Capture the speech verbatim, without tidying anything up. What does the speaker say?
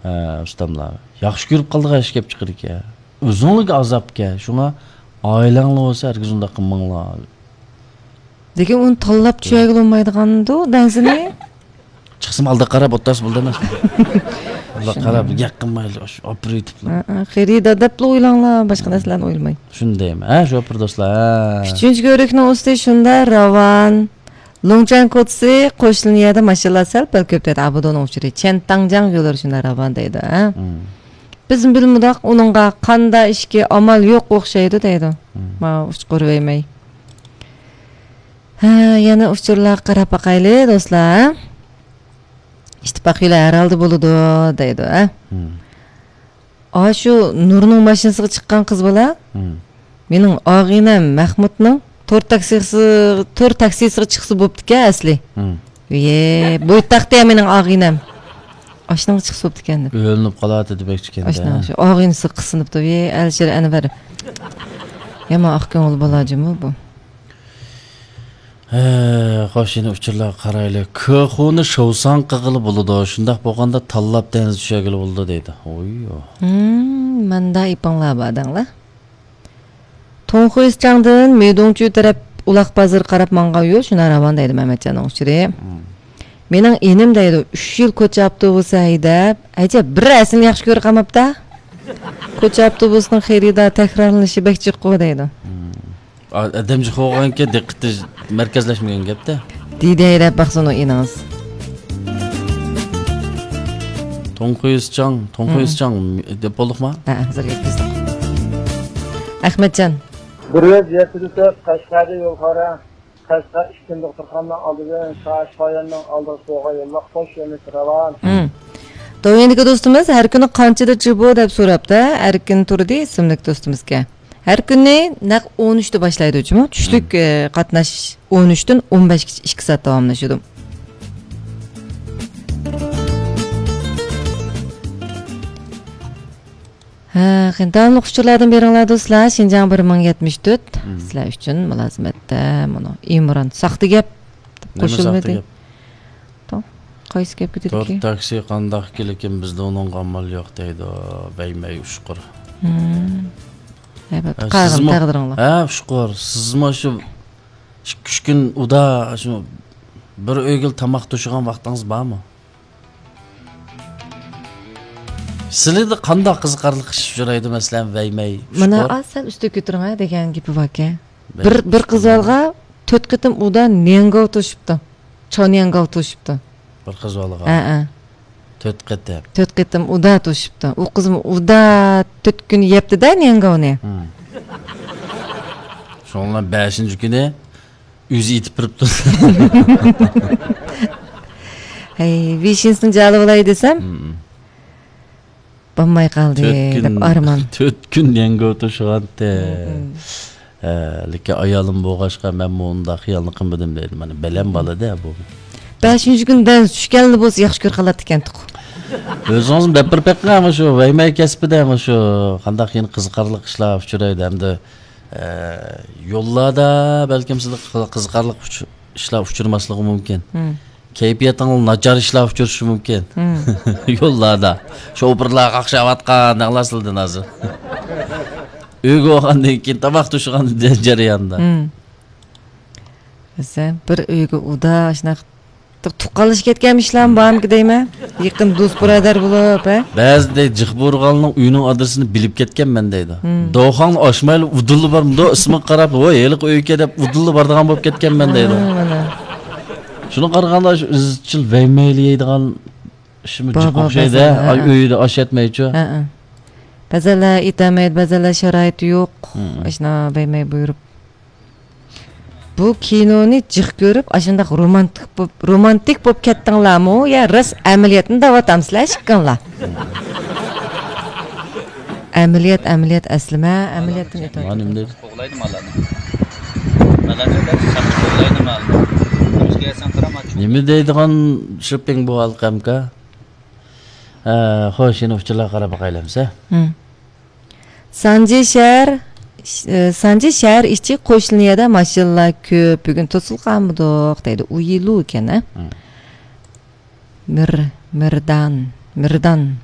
ھە، ئۇستاملار. ياخشى كۆرۈپ قالدىغان ئىش كەپ چىقىدىكەن. ئۆزۈڭلارگە ئازابكەن. شۇڭا ئائىلەڭلار بولسا ھەرگىز ئۇنداق قىلماڭلار. لېكىن ئۇنى تاللاپ چۈشۈرگىلى بولمايدىغاندۇ دەنسىنى. چىقسىمۇ ئالدىغا قاراپ ئولتۇرسا بولىدۇ ئەمەسمۇ؟ ئالدىغا قاراپ گەپ قىلمايلى، ئاشۇ ئاپىرىۋېتىپلا. ھە، ھە، خېرىدار دەپلا ئويلاڭلار، باشقا نەرسىلەرنى ئويلىماي. شۇنى دەيمەن. ھە، شوپۇر دوستلار، ھە. ئۈچىنچى كۆۋرۈكنىڭ ئۈستى شۇنداق راۋان. لۇڭچەن كوچىسى قوشۇلىن يەردە ماشىنىلار سەل پەل كۆپ دەيدۇ. ئابۇدۇنىڭ ئۇچۇرى چيەنتاڭجياڭ يوللىرى شۇنداق راۋان دەيدۇ، ھە؟ مم. بىزمۇ بىلمىدۇق، ئۇنىڭغا قاندا ئىشكى ئامال يوق ئوخشايدۇ دەيدۇ. مم. ماۋۇ ئۇچقۇر ۋەيمەي. ھە، يەنە ئۇچۇرلارغا قاراپ باقايلى، دوستلار. ئىتتىپاق يولى ھەر ھالدا بولىدۇ دەيدۇ، ھە؟ مم. ئاشۇ نۇرنىڭ ماشىنىسىغا چىققان قىز بالا، مم. مېنىڭ ئاغىنەم مەخمۇتنىڭ تور تاكسىسى، تور تاكسىسىغا چىقسا بوپتىكەن ئەسلى. مم. ۋىي، بويتاقتى يا مېنىڭ ئاغىنەم. ئاشۇنىڭغا چىقسا بوپتىكەن دەپ. ئۆلۈنۈپ قالاتتى دېمەكچىكەن-دە. ئاشۇنىڭ شۇ ئاغىنىسىغا قىسىنىپتۇ. ۋىي، ئەلىشىر ئەنۋەر. يامان ئاق كۆڭۈل بالا جۇمۇ بۇ. ھە، خوش، يەنە ئۇچۇرلارغا قارايلى. كېخۇنى شوۋساڭ قىلغىلى بولىدۇ، شۇنداق بولغاندا تاللاپ دېڭىزدا چۈشۈرگىلى بولىدۇ دەيدۇ. ھوي. ھىم، ماندا ئېپىڭلار بار دەڭلار. توڭخۇيسىچاڭدىن مېدۇڭچۈ تەرەپ ئۇلاق بازىرى قاراپ ماڭغان يول شۇنداق راۋان دەيدۇ مەمەتجاننىڭ ئۇچۇرى. ھىم. مېنىڭ ئىنىم دەيدۇ، ئۈچ يىل كوچا ئاپتوبۇسى ھەيدەپ، ئەجەب بىر ئەسلىنى ياخشى كۆرۈپ قالماپتا. كوچا ئاپتوبۇسىنىڭ خېرىدار تەكرارلىنىشى بەك جىق دەيدۇ. ھىم. ئا-، ئادەم جىق بولغانكى دىققىتى مەركەزلەشمىگەن گەپتە. دېدى ھەيدەپ باقسۇن ئۇ ئىنىڭىز. توڭخۇيسىچاڭ، توڭخۇيسىچاڭ دەپ بولدۇقما؟ ھە، ھازىر يەتكۈزدۇق. ئەخمەتجان. بىر يۈز يەتتە تۆت قەشقەردە يول خارا. قەشقەر ئىككىنچى دوختۇرخانىنىڭ ئالدىدىن شاھىش قاياننىڭ ئالدىغا سوغا يوللۇق قوش يولنى راۋان. ھىم. دوۋيەندىكى دوستىمىز ھەر كۈنى قانچىدا جىبۇ دەپ سوراپتۇ. ئەركىن تۇردى ئىسىملىك دوستىمىزكەن. ھەر كۈنى نەق ئون ئۈچتە باشلايدۇ جۇمۇ. چۈشلۈك، مم. ئە، قاتناش ئون ئۈچتىن ئون بەشكىچە ئىككى سائەت داۋاملىشىدۇ. ھە، قېنى، داۋاملىق ئۇچۇرلاردىن بېرىڭلار دوستلار. شىنجاڭ بىر مىڭ يەتمىش تۆت. مم. سىلەر ئۈچۈن مۇلازىمەتتە مۇنۇ ئىمران ساختا گەپ دەپ نېمە ساختا قوشۇلمىدى. گەپ؟ توڭ، قايسى گەپكە تور دېدىكى؟ تاكسى قانداق كېلىكىن، بىزدە ئۇنىڭغا ئامال يوق دەيدۇ، بەيمەي ئۇچقۇر. ھىم. ھە، بەپتۇ، ھە، قالغىن سىزمۇ، تەقدىرىڭلار. ھە، ئۇچقۇر، سىزمۇ شۇ ئىككى، ئۈچ كۈن ئۇدا شۇ بىر ئۆيگىلا تاماق توشۇغان ۋاقتىڭىز بارمۇ؟ سىلىدە قانداق قىزىقارلىق ئىش ئۇچرايدۇ، مەسىلەن، بەيمەي، مانا ئۇچقۇر؟ ئاز سەل ئۈستىگە كۆتۈرۈڭ ھە دېگەن گېپى باركەن. بىر، بىر قىز بالىغا تۆت قېتىم ئۇدا نياڭگاۋ توشۇپتۇ. چاۋ نياڭگاۋ توشۇپتۇ. بىر قىز بالىغا؟ ھە، ھە. تۆت قېتىم. تۆت قېتىم ئۇدا توشۇپتۇ. ئۇ قىزمۇ ئۇدا تۆت كۈن يەپتۇ-دە نياڭگاۋنى. ھىم. شۇڭا بەشىنچى كۈنى ئۆزى ئېتىپ بېرىپتۇ. ھەي، ۋىشىنسنى جالى بولاي دېسەم، ھىم. بولماي قالدى، تۆت كۈن، دەپ ئارمان. تۆت كۈن يەڭگۆ توشۇغانتى. ھىم، ھىم. ھە، لېكىن ئايالىم بولغاچقا، مەنمۇ ئۇنداق خىيالنى قىلمىدىم دەيدۇ. مانا، بەلەم بالا-دە بۇ. بەشىنچى كۈنى دەنس چۈشكەنلا بولسا ياخشى كۆرۈپ قالاتتىكەنتۇق. ئۆزىڭىزمۇ دەپ بېرىپ بېقىڭ، مانا شۇ ۋەيمەي كەسپىدە، مانا شۇ قانداق يەنە قىزىقارلىق ئىشلار ئۇچرايدۇ ھەمدە، ئە، يوللاردا بەلكىم سىزگە قىزىقارلىق ئۇچ-، ئىشلار ئۇچرىماسلىقى مۇمكىن. ھىم. كەيپىياتىڭلار ناچار ئىشلار ئۇچرىشى مۇمكىن. ھىم. يوللاردا. شوپۇرلار قاقشاۋاتقان، دەڭلار سىلدىن ھازىر. ئۆيگە بارغاندىن كېيىن تاماق توشۇغان جەرياندا. ھىم. بىلسە، بىر ئۆيگە ئۇدا، شۇنداق تۇغقانلىشىپ كەتكەنمىشلارمۇ بارمىكىن دەيمەن. يېقىن دوست بۇرادەر بولۇپ، ھە؟ بەزىدە جىق بۇرغاننىڭ ئۆيىنىڭ ئادرېسىنى بىلىپ كەتكەنمەن دەيدۇ. ھىم. دوخاڭنى ئاچمايلا ئۇدۇللا بارمىدۇ، ئىسمىغا قاراپ، ۋوي، ھېلىقى ئۆيكەن دەپ ئۇدۇللا بارىدىغان بولۇپ كەتكەنمەن دەيدۇ. ھە، مانا. شۇنىڭغا قارىغاندا، شۇ ئىزچىل ۋەيمەيلى يەيدىغان ئىشمۇ جىق ئوخشايدۇ، ھە، ئۆيدە ئاش يەتمەيچۇ. ھە، ھە. بەزەنلەر يېتەلمەيدۇ، بەزەنلەر شارائىتى يوق. ھىم. ئاشۇنداق ۋەيمەي بۇيرۇپ. بۇ كىنونى جىق كۆرۈپ، ئاشۇنداق رومانتىك بوپ، رومانتىك بوپ كەتتىڭلارمۇ يا راست ئەمەلىيەتنى دەۋاتامسىلەر ئىككىڭلار؟ ئەمەلىيەت، ئەمەلىيەت ئەسلىمە، ئەمەلىيەتتىن ئۆتۈۋاتىدۇ. مانا نېمە دەيدۇ؟ قوغلايدۇ ماللارنى. ماللارنى دەپ ساقچى قوغلايدۇ مالنى. نېمە دەيدىغان شوپپىڭ بۇ ھالقەمكا؟ ھە، خوش، يەنە ئۇچۇرلارغا قاراپ باقايلى ئەمسە. ھىم. سانجى شەھەر، ئى، سانجى شەھەر ئىچى قوشنىيەدە ماشىنىلار كۆپ، بۈگۈن توسۇلۇپ قالمىدۇق دەيدۇ. ئۇيىلۇ ئىكەن، ھە؟ ھىم. مىر، مىردان، مىردان.